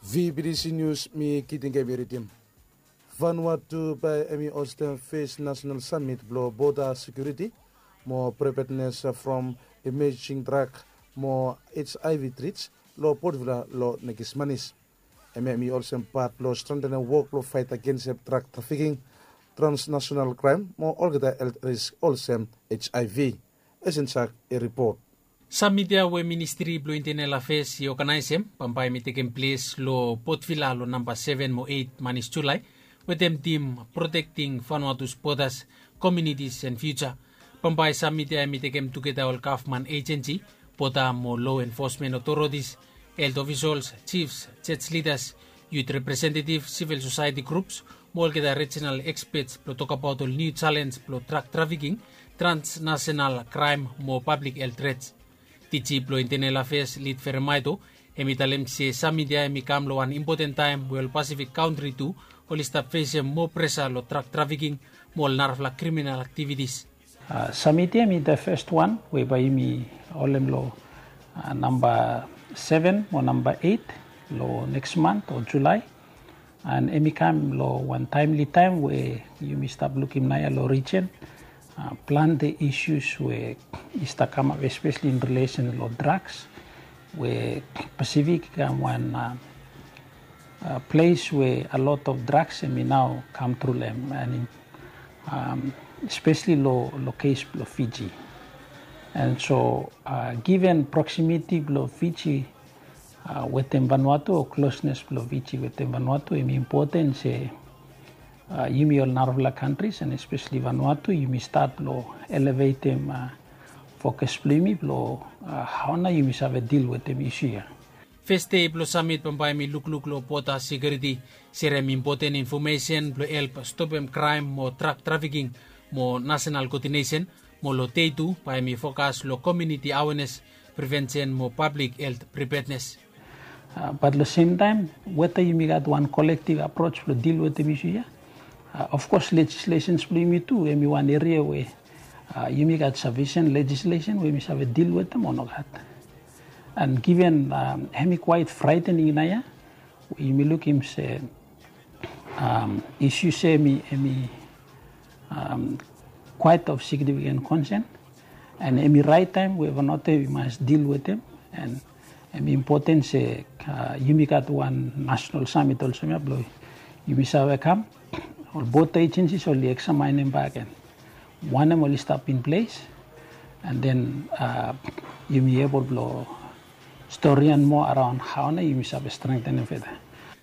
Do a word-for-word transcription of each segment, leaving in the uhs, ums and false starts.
V B T C News, mi Kiting Kemi ridim. Vanuatu bae hemi hostem fes nasenal samit blong boda sekiuriti mo pripednes from emejing drak mo H I V trits long Port Vila long nekis manis. Hemia hemi olsem pat blong strentenem wok blong faet agens hem drak trafiking, transnasenal kraem mo olgeta helt risk olsem H I V. Esensak i ripot. Samit ya we Ministri blong Intenel Afeas i oganaesem bambae hemi tekem ples long Port Vila long namba seven mo eit manis Julae, wetem tim Protecting Vanuatu's Borders, Communities and Future. Bambae samit ya hemi tekem tugeta ol gavman ejensi, boda mo law enforcement authorities, helt ofisals, jifs, jos lidas, yut representetif, sivil sosaeti grups mo olgeta rijinal ekspets blong tokbaot ol niu jalens blong drak trafiking, transnasenal kraem mo pablik helt trets. Diji blong Intenel Afeas Lid Feremaeto hemi talem se samit ya hemi kam long wan impoten taem we ol Pasifik kantri tu oli stap fesem moa presa long drak trafiking mo ol narafala kriminal aktivitis. Samit ya hemi the first one we bae yumi holem long namba seven mo namba eit long neks mant o Julae. And hemi kam long wan taemli taem we yumi stap lukim naoia long rijen plante isus we i stap kamap, espeseli in rilesen long draks, we Pasifik i kam wan ples we a lot of draks hemi nao kam tru long hem, and espeseli long kes blong Fiji. And so given proximity blong Fiji wetem Vanuatu o closeness blong Fiji wetem Vanuatu, hemi impoten se yumi ol narafala kantris and espeseli Vanuatu, yumi stat blong elevetem fokas blong yumi blong hao nao yumi save dil wetem isu ya. Fes dei blong samit bambae hemi lukluk long boda sekiuriti, serem impoten infomesen blong help stopem kraem mo drak trafiking mo nasenal koodinesen, mo long dei tu bae hemi fokas long komuniti awenes, prevensen mo pablik helt pripednes. Bat long semtaem weta yumi gat wan kolektiv aprots blong dil wetem isu ya. Of kos lejislesens blong yumi tu hemi wan eria we yumi gat safisen lejislesen we yumi save dil wetem o nogat. And given hemi kwaet fraetening naoia, yumi lukim se isu se hemi kwaet of signifiken konsen, and hemi raet taem we Vanuatu i mas dil wetem, and hemi impoten se yumi gat wan nasenal samit olsem ya blong yumi save kam, ol boda ejensis oli eksamaenem bak gen wanem oli stap in ples, and then yumi ebol blong storian moa araon hao nao yumi save strentenem feda.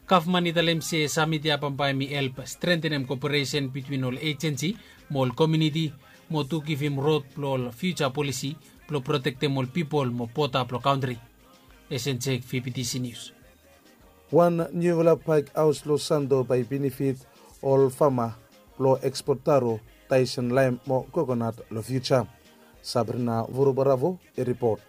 Gavman i talem se samit ya bambae hemi help strentenem koperesen bitwin ol ejensi mo ol komuniti, mo tu givim rod blong ol fiuja polisi blong protektem ol pipol mo boda blong kantri. Esen Jek, V B T C News. Wan niufala pak haos long Santo bae i benefit ol fama blong ekspot taro, taisen laem mo kokonat long fiuja. Sabrina Vorobaravo i ripot.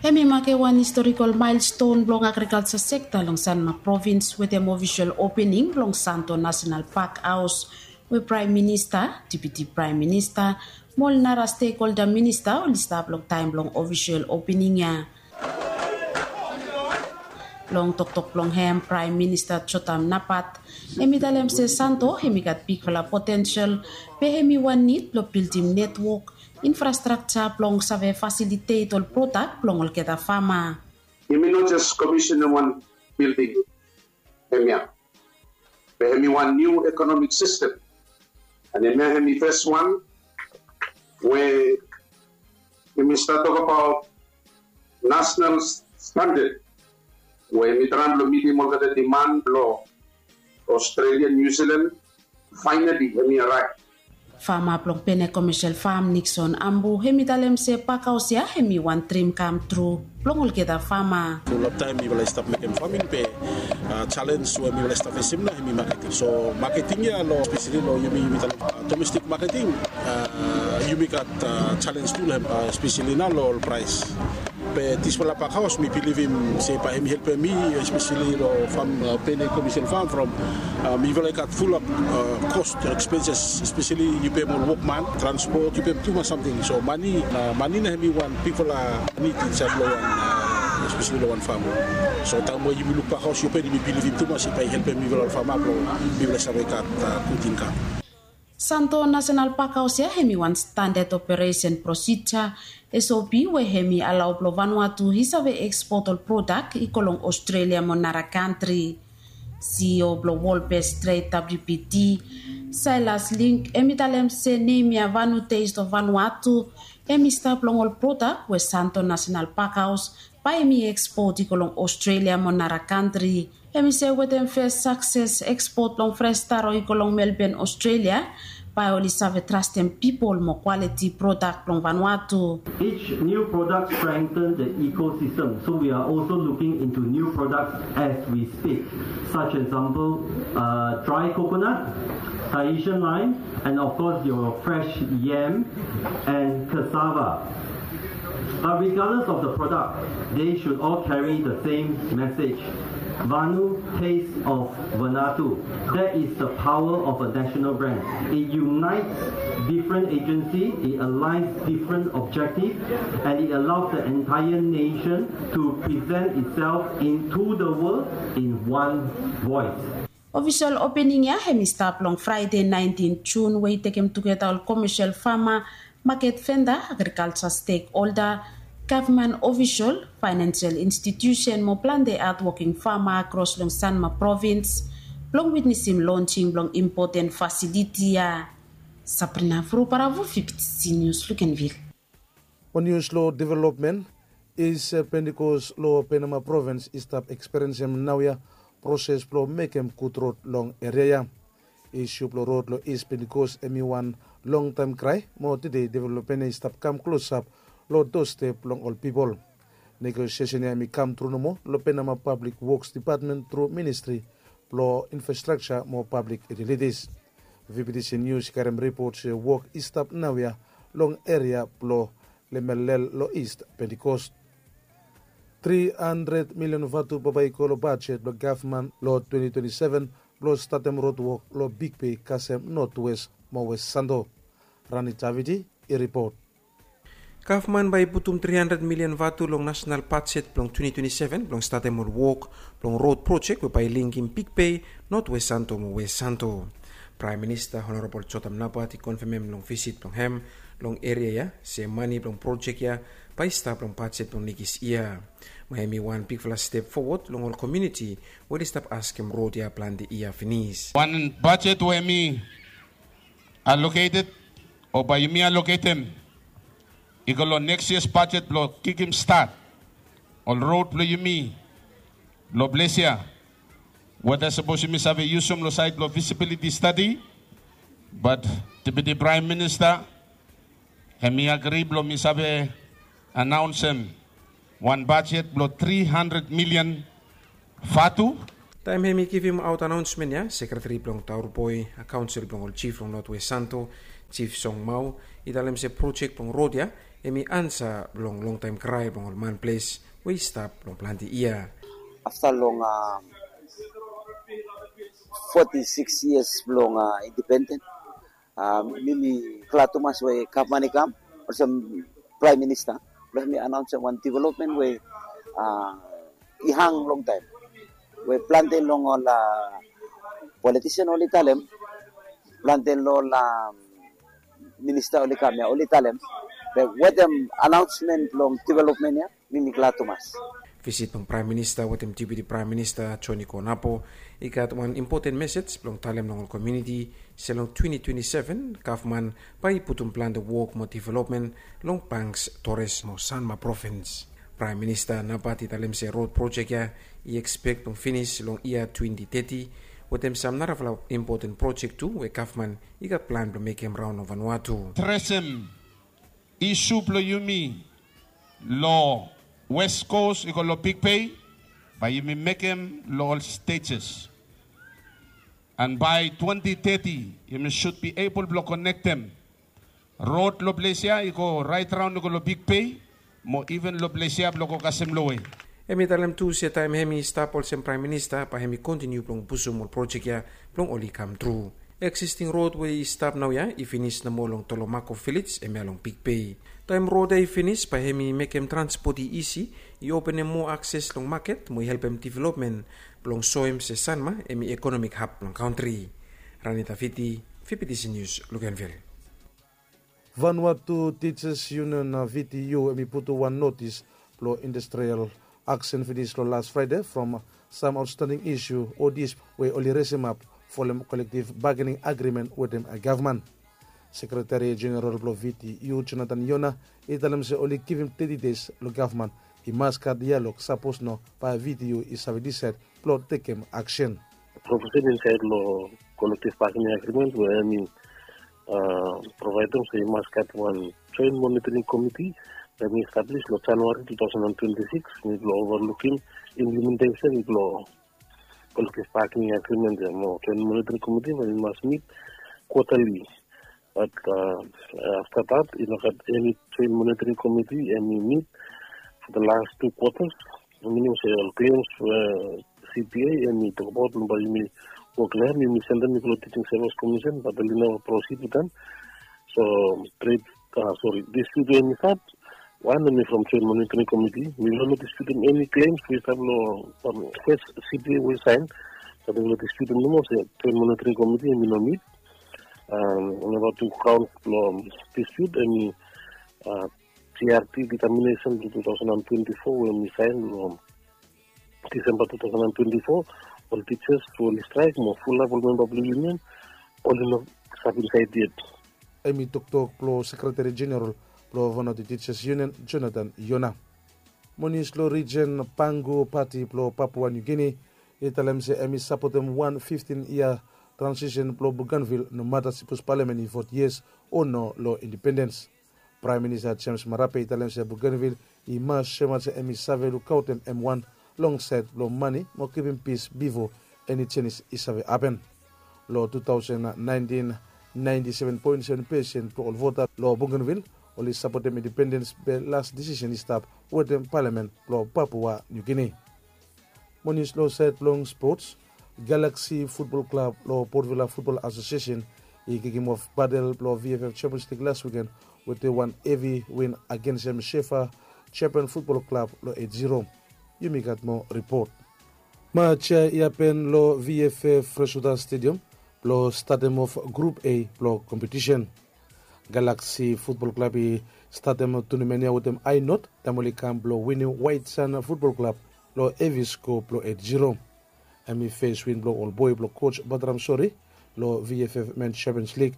Hemi makem wan historikol maelston blong agrikalja sekta long Sanma provins wetem ofisol opening blong Santo Nasenal Pak Haos, we Praem Minista, Deputi Praem Minista mo ol nara stekholda minista oli stap long taem blong ofisol opening ya. Long toktok blong hem, Praem Minista Jotham Napat hemi talem se Santo hemi gat bigfala potensel, be hemi wan nid blong bildim netwok infrastrakja blong save fasilitet ol prodak blong olgeta fama. Yumi no jes komisenem wan bilding hemia, be hemi wan niu ekonomik sistem. And hemia hemi fes wan we yumi stap tokbaot nasenal standad we hemi traem blong mitim olgeta diman blong Australia, New Zealand. Faenali hemi araev. Fama blong Pene Komesel Fam, Nixon Ambu, hemi talem se pak haos ya hemi wan drim kam tru blong olgeta fama. Long taem mifala i stap mekem faming, be jalens we mifala i stap fesem nao hemi maketing. So maketing ya long, espeseli long yumi, yumi talem domestik maketing, yumi gat jalens tu long hem, espeseli nao long ol praes. Be disfala pak haos mi bilivim se bae hemi helpem mi, espeseli long fam, Pene Komesel Fam, from mifala i gat fulap kos, ekspenses, espeseli yu pem ol wokman, transpot, yu pem tumas samting. So mane, mane nao hemi wan bigfala nid insaed long wan Espeseli long wan fama. So taem we yumi luk pakhaos, yu pedi mi bilivim tumas i bae i helpem mifala ol fama blong mifala save gat gud inkam. Santo National Parkhaos ya hemi wan standard operesen prosija, S O P, we hemi alao blong Vanuatu i save ekspot ol prodak i go long Australia mo nara kantri. C E O blong World Best Trade, W B T, Silas Link, hemi talem se nem ya Vanu Taste of Vanuatu hemi stap long ol prodak we Santo National Parkhaos bae hemi ekspot i go long Australia mo nara kantri. Hemi se wetem fes sakses ekspot blong fres taro i go long Melbourne, Australia, bae oli save trastem pipol mo kwaliti prodak blong Vanuatu. Each new product strengthens the ecosystem, so we are also looking into new products as we speak, such example, uh, dry coconut, Tahitian lime, and of course your fresh yam and cassava. But regardless of the product, they should all carry the same message. Vanu, taste of Vanuatu. That is the power of a national brand. It unites different agency, it aligns different objective, and it allows the entire nation to present itself into the world in one voice. Ofisol opening ya hemi stap long Fraede naentin Jun, we i tekem tugeta ol komesel fama, maket venda, agrikalja stekholda, gavman ofisol, faenensel institiusen mo plante adwoking fama akros long Sanma provins blong witnesim lonsing blong impoten fasiliti ya. Sabrina Furuparavu, V B T C News, Luganville. Wan nius long developmen. Is Pentikos long Penama provins i stap ekspiriensim naoia proses blong mekem gud rod long eria ya. Isu blong rod long Is Pentikos hemi wan longtaem krae, mo tede developmen ya i stap kam klosap long dostep blong ol pipol. Negosiesen ya hemi kam tru nomo long Penama Pablik Woks Depatmen tru Ministri blong Infrastrakja mo Pablik Yutilitis. V B T C Nius i karem ripot se wok i stap naoia long eria blong Lemelel long Is Pentikos. Tri handred milion vatu bambae i go long bajet blong gavman long twenti twenti seven blong statem rod wok long Big Bay kasem Notwes mo Wes Santo. Rani Davidi i ripot. Gavman bae i putum tri handred milion vatu long nasenal bajet blong twenti twenti seven blong statem ol wok blong rod projek we bae i linkem Big Bay, Notwes Santo mo Wes Santo. Praem Minista Honorabol Jotam Napat i konfemem long visit blong hem long eria ya se mane blong projek ya bae i stap long bajet blong nekis yia. Mo hemi wan bigfala step fowod long ol komuniti we oli stap askem rod ya plante yia finis. Wan bajet we hemi aloketed o bae yumi aloketem i go long neks yia bajet blong kikim stat ol rod blong yumi long ples ya. Weta sapos yumi save yusum long saed blong visibiliti stadi, bat Deputi Praem Minista hemi agri blong mi save anaonsem wan bajet blong tri handred milian vatu. Taem hemi givimaot anaonsmen ya, sekreteri blong Tauroboi, kaonsel blong ol jif long Notwes Santo, Jif Song Mau, i talem se projek blong rod ya hemi ansa blong longtaem krae blong ol manples we i stap long plante yia. Afta long foti sikis yias blong indipenden, mi mi glad tumas we gavman i kam olsem Praem Minista blong mi anaonsem wan developmen we i hang longtaem, we plante long ol politisen oli talem, plante long ol minista oli kam ya oli talem. Be wetem anaonsmen blong developmen ya, mi mi glad tumas. Visit blong Praem Minista wetem Deputi Praem Minista Joni Konapo i gat wan impoten mesej blong talem long ol komuniti se long twenti twenti seven gavman bae i putum plante wok mo developmen long Banks, Torres mo Sanma provins. Praem Minista Napat i talem se rod projek ya i ekspek blong finis long yia twenti teti, wetem sam narafala impoten projek tu we gavman i gat plan blong mekem raon long Vanuatu. Adresem isu blong yumi long Wes Kos i go long Big Bay, bae yumi mekem long ol stejes. An bae twenti teti yumi sud bi ebol blong konektem rod long ples ya i go raet raon i go long Big Bay, mo iven long ples ya blong go kasem lowe. Hemi talem tu se taem hemi stap olsem Praem Minista bae hemi kontiniu blong pusum ol projek ya blong oli kam tru. Eksisting rod we i stap naoia i finis nomo long Tolomako Vilej, hemia long Big Bay. Taem rod ya i finis, bae hemi mekem transpot i isi, i openem moa akses long maket mo i helpem developmen blong soem se Sanma hemi ekonomik hab blong kantri. Ranita Viti, V B T C News, Luganville. Vanuatu Teachers Union, V T U, hemi putum wan notis blong industrial aksen finis long las Fraede from sam aotstanding isu o disput we oli resemap folem kolektiv bagening agrimen wetem gavman. Sekreteri Jeneral blong V T U, Jonathan Yona, i talem se oli givim teti dei long gavman i mas gat dialog, sapos no bae V T U i save disaed blong tekem aksen. Provision insaed long kolektiv bagening agrimen we hemi provaedem se i mas gat wan joen monitoring komiti we hemi establis long Januari two thousand and twenty-six, hemi blong overlukim implementesen blong kolektiv bagening agrimen ya. Mo joen monitoring komiti we hemi mas mit kwatali. Bat afta dat i no gat eni joen monitoring komiti hemi mit for the last two quarters. Minim se ol klems we C P A hemi tokbaot long bae yumi wok long hem, yumi sendem i go long Teaching Service Commission, bat oli neva prosid wetem. So trade, sori, disput we hemi stap, wan hemi from joen monitoring komiti. Mi no disputem eni klems we i stap long fes C P A we i saen. Bat mi no disputem nomo se joen monitoring komiti hemi no mit. Namba tu kaon blong disput hemi G R T determination blong two thousand and twenty-four we hemi saen long Disemba two thousand and twenty-four. Ol teachers we oli straek mo fulap ol memba blong union oli no stap insaed yet. Hemi toktok blong Sekreteri Jeneral blong Vanuatu Teachers Union, Jonathan Yona. Mo nius long rijen, Pangu Pati blong Papua New Guinea i talem se hemi sapotem wan fiftin yia transisen blong Bougainville, no mata sipos palamen i foti yias o no long independens. Praem Minista James Marape i talem se Bougainville i mas semat se hemi save lukaotem M one long saed blong mane mo kipim pis bifo eni jenis i save hapen. Long two thousand nineteen, ninety-seven point seven percent blong ol vota long Bougainville oli sapotem independens be las disisen i stap wetem palamen blong Papua New Guinea. Mo nius long saed blong spots, Galaxy Futbol Klab long Port Vila Futbol Asosiesen i kikimof batel blong V F F Champions League las wiken wetem wan hevi win agensem Shefa Japan Futbol Klab long eight zero. Yumi gat moa ripot. Maj ya i hapen long V F F Freswater Stadium blong statemof Grup A blong kompetisen. Galaxy Futbol Klab i statem tunamen ya wetem ae not taem oli kam blong winim White Sand Futbol Klab long hevi sko blong eight zero. Hemi fes win blong ol boe blong koj Batram Sori long V F F Men Champions League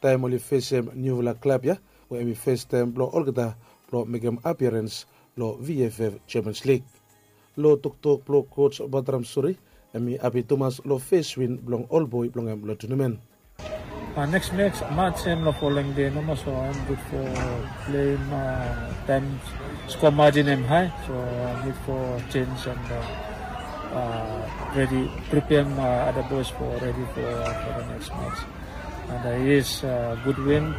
taem oli fesem niufala klab ya we hemi fes taem blong olgeta blong mekem apiarens long V F F Champions League. Long toktok blong koj Batram Sori, hemi hapi tumas long fes win blong ol boe blong hem long tunamen. Neks mej, maj hem long folem dei nomo, so I'm good for playing taem score margin hem high, so I need for change and ready, prepare other boys for ready for the next match. And yes, good win.